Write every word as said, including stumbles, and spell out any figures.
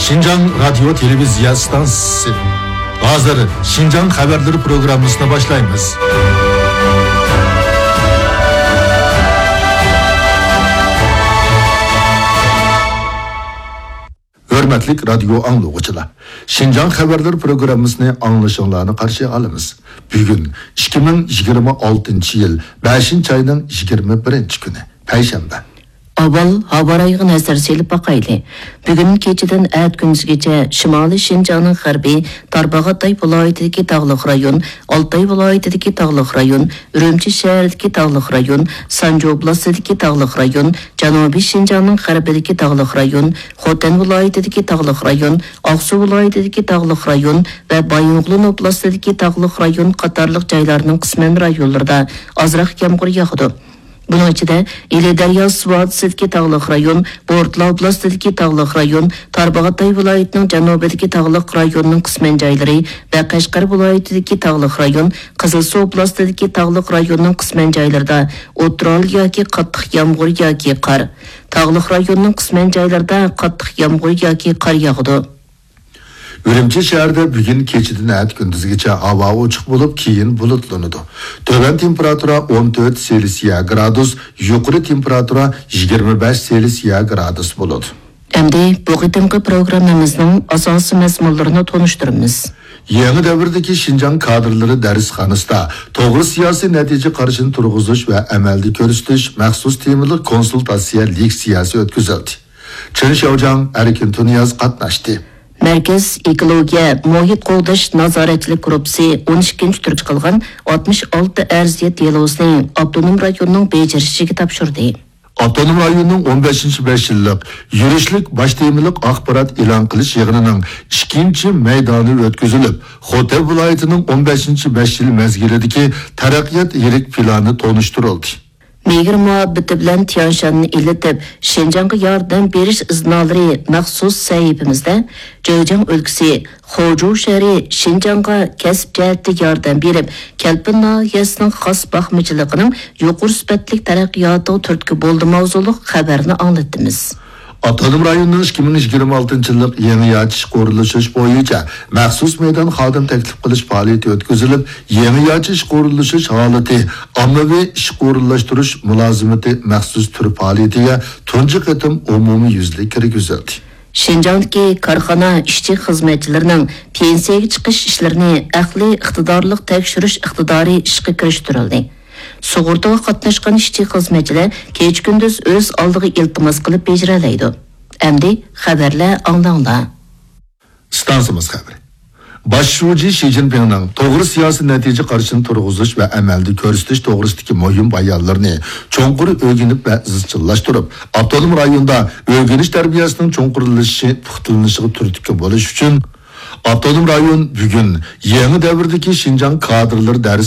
شىنجاڭ رادىيو تېلېۋىزىيە ئىستانسىسى. ھازىر شىنجاڭ خەۋەرلىرى پروگراممىسىنى باشلايمىز. ھۆرمەتلىك رادىيو ئاڭلىغۇچىلار، شىنجاڭ خەۋەرلىرى پروگراممىسىنى ئاڭلىشىڭلارنى قارشى ئالىمىز. بۈگۈن ئىككى مىڭ يىگىرمە ئالتىنچى يىل بەشىنچى ئاينىڭ يىگىرمە بىرىنچى كۈنى، پەيشەنبە. ئاۋۋال ھاۋا رايىغا نەزەر سېلىپ باقايلى. بۈگۈن كېچىدىن ئەتە كۈندۈزگىچە شىمالىي شىنجاڭنىڭ غەربى، تارباغاتاي ۋىلايىتىدىكى تاغلىق رايون، ئالتاي ۋىلايىتىدىكى تاغلىق رايون، ئۈرۈمچى شەھىرىدىكى تاغلىق رايون، سانجى ئوبلاستىدىكى تاغلىق رايون، جەنۇبىي شىنجاڭنىڭ غەربىدىكى تاغلىق رايون، خوتەن ۋىلايىتىدىكى تاغلىق رايون، ئاقسۇ ۋىلايىتىدىكى تاغلىق رايون ۋە بايىنغولىن ئوبلاستىدىكى تاغلىق رايون قاتارلىق جايلارنىڭ قىسمەن رايونلىرىدا ئازراق يامغۇر ياغىدۇ. بۇنىڭ ئىچىدە، ئىلى دەرياسى ۋادىسىدىكى تاغلىق رايون، بورتالا ئوبلاستىدىكى تاغلىق رايون، تارباغاتاي ۋىلايىتىنىڭ جەنۇبىدىكى تاغلىق رايوننىڭ قىسمەن جايلىرى ۋە قەشقەر ۋىلايىتىدىكى تاغلىق رايون، قىزىلسۇ ئوبلاستىدىكى تاغلىق رايوننىڭ قىسمەن جايلىرىدا ئوتتۇرا ھالدا ياكى قاتتىق يامغۇر ياكى قار، تاغلىق رايوننىڭ قىسمەن جايلىرىدا قاتتىق يامغۇر ياكى قار ياغىدۇ. ئۈرۈمچى شەھىرىدە بۈگۈن كېچىدىن ئەتە كۈندۈزگىچە ھاۋا ئوچۇق بولۇپ، كېيىن بۇلۇتلىنىدۇ. تۆۋەن تېمپېراتۇرا ئون تۆت سېلسىيە گرادۇس، يۇقىرى تېمپېراتۇرا يىگىرمە بەش سېلسىيە گرادۇس بولىدۇ. ئەمدى بۇ قېتىمقى پروگراممىمىزنىڭ ئاساسىي مەزمۇنلىرىنى تونۇشتۇرىمىز. يېڭى دەۋردىكى شىنجاڭ كادىرلىرى دەرسخانىسىدا توغرا سىياسىي نەتىجە قارىشىنى تۇرغۇزۇش ۋە ئەمەلدە كۆرسىتىش مەخسۇس تېمىلىق كونسۇلتاتسىيە لېكسىيەسى ئۆتكۈزۈلدى. چېن شياۋجياڭ، ئەركىن تۇنىياز قاتناشتى. مەركەز ئېكولوگىيە، مۇھىت قوغداش نازارەتچىلىك گۇرۇپپىسى ئون ئىككىنچى تۈرگە چىقىلغان ئاتمىش ئالتە ئەرزىيەت دېلوسىنى ئاپتونوم رايوننىڭ بېجىرىشىگە تاپشۇردى. ئاپتونوم رايوننىڭ ئون بەشىنچى بەش يىللىق يۈرۈشلۈك باش تېمىلىق ئاخبارات ئېلان قىلىش يىغىنىنىڭ ئىككىنچى مەيدانى ئۆتكۈزۈلۈپ، خوتەن ۋىلايىتىنىڭ ئون بەشىنچى بەش يىل مەزگىلىدىكى تەرەققىيات يىرىك پىلانى تونۇشتۇرۇلدى. مېھىر مۇھەببىتى بىلەن تيەنشاننى ئىللىتىپ، شىنجاڭغا ياردەم بېرىش ئىزنالىرى مەخسۇس سەھىپىمىزدە جېجياڭ ئۆلكىسى خۇجۇ شەھىرى شىنجاڭغا كەسىپ جەھەتتە ياردەم بېرىپ، كەلپىن ناھىيەسىنىڭ خاس باقمىچىلىقىنىڭ يۇقىرى سۈپەتلىك تەرەققىياتىغا تۈرتكە بولدى ماۋزۇلۇق خەۋەرنى ئاڭلىتىمىز. ئاپتونوم رايوننىڭ ئىككى مىڭ يىگىرمە ئالتىنچى يىللىق يېڭىچە ئىشقا ئورۇنلىشىش بويىچە مەخسۇس مەيدان خادىم تەكلىپ قىلىش پائالىيىتى ئۆتكۈزۈلۈپ، يېڭىچە ئىشقا ئورۇنلىشىش ھالىتى ئاممىۋى ئىشقا ئورۇنلاشتۇرۇش مۇلازىمىتى مەخسۇس تۈر پائالىيىتىگە تۇنجى قېتىم ئومۇميۈزلۈك كىرگۈزۈلدى. شىنجاڭدىكى كارخانا ئىشچى-خىزمەتچىلىرىنىڭ پېنسىيەگە چىقىش ئىشلىرىنى ئەقلىي ئىقتىدارلىق تەكشۈرۈش ئىقتىدارى ئىشقا كىرىشتۈرۈلدى. سۇغۇرتىغا قاتناشقان ئىشچى-خىزمەتچىلەر كېچە-كۈندۈز ئۆز ئالدىغا ئىلتىماس قىلىپ بېجىرەلەيدۇ. ئەمدى خەۋەرلەر ئاڭلاڭلار. ئىستانسىمىز خەۋىرى. باش شۇجى شى جىنپىڭنىڭ توغرا سىياسىي نەتىجە قارىشىنى تۇرغۇزۇش ۋە ئەمەلدە كۆرسىتىش توغرىسىدىكى مۇھىم بايانلىرىنى چوڭقۇر ئۆگىنىپ ۋە ئىزچىللاشتۇرۇپ، ئاپتونوم رايوندا ئۆگىنىش تەربىيەسىنىڭ چوڭقۇرلىشىشى، پۇختىلىنىشىغا تۈرتكە بولۇش ئۈچۈن، ئاپتونوم رايون بۈگۈن يېڭى دەۋردىكى شىنجاڭ كادىرلىرى دەرس